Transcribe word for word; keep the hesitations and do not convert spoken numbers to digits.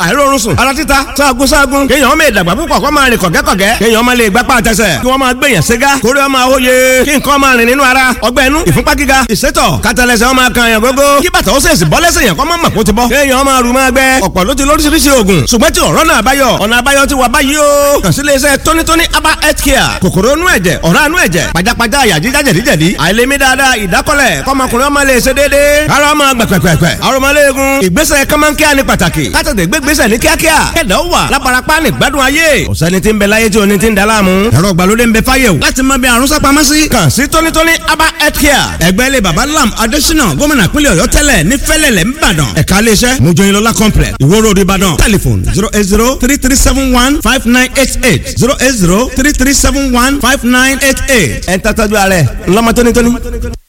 Àìróorun sùn. Ara títa sáàgùn sáàgùn. Kéèyàn ọmọ ìdàgbà púpọ̀ kó máa rìn kọ̀gẹ́kọ̀gẹ́. Kéèyàn ọmọ lè gbápá àtẹsẹ̀. Kí wọ́n máa gbèyàn ségá. Kórè ọmọ àwòye. Kí nǹkan máa rìn nínú ara. Ọgbẹ́ inú ìfúnpá gíga. Ìsétọ̀ kátàlẹ́sẹ̀ ọmọ kan yàn gógó. Kí bàtà ó sèṣì bọ́ lẹ́sẹ̀ yàn kọ́ mọ́ mọ̀ kó ti bọ́. Kéèyàn ọmọ àrùn máa gbẹ. Ọ̀pọ̀ ló ti lóríṣiríṣi oògùn. Ṣùgbọ́n tí ọ̀rọ̀ náà báyọ̀. Ọ̀nà àbáyọ ti wà báyìí o. Kàn sí iléeṣẹ́ tónítóní aba health care. Kòkòrò inú ẹ̀jẹ̀, ọ̀rá inú ẹ̀jẹ̀, pajápajá àyà jíjá jẹ̀díjẹ̀dí. Àìlèmí dáadáa, ìdákọ́lẹ̀, kọ́mọkùnrin ọmọ lè ṣe déédéé. Ara ọmọ gbẹ̀pẹ̀pẹ̀pẹ̀. Aromọléegun. Ìgbésẹ̀ kọ́mọ́nkíá ni pàtàkì. Kátàtẹ̀ gbégbésẹ̀ ní kíákíá. Kẹ̀dá ó wà lábarapá ní gbádùn ayé. Ọ̀sẹ́ni tí ń bẹ láyé tí oní ti ń da láàmú. Ẹ̀rọ ìgbàlódé ń bẹ fáyé o. Láti mọ bí àrùn sápamọ́ sí. Kàn sí tónítóní aba health care. Ẹgbẹ́ ilé baba Lam Adésínà gómìnà pínlẹ̀ Ọ̀yọ́ tẹ́lẹ̀ ní Fẹ́lẹ́lẹ̀ ńbàdàn. Ẹ̀ka iléeṣẹ́ Mojoyinlọ́lá complex, Ìwó Road, Ìbàdàn. Telephone zero eight zero three three seven one five nine eight eight, zero eight zero three three seven one five nine eight eight. Ẹ̀ ń tàtàjú ààrẹ ńlọmọ tónítóní.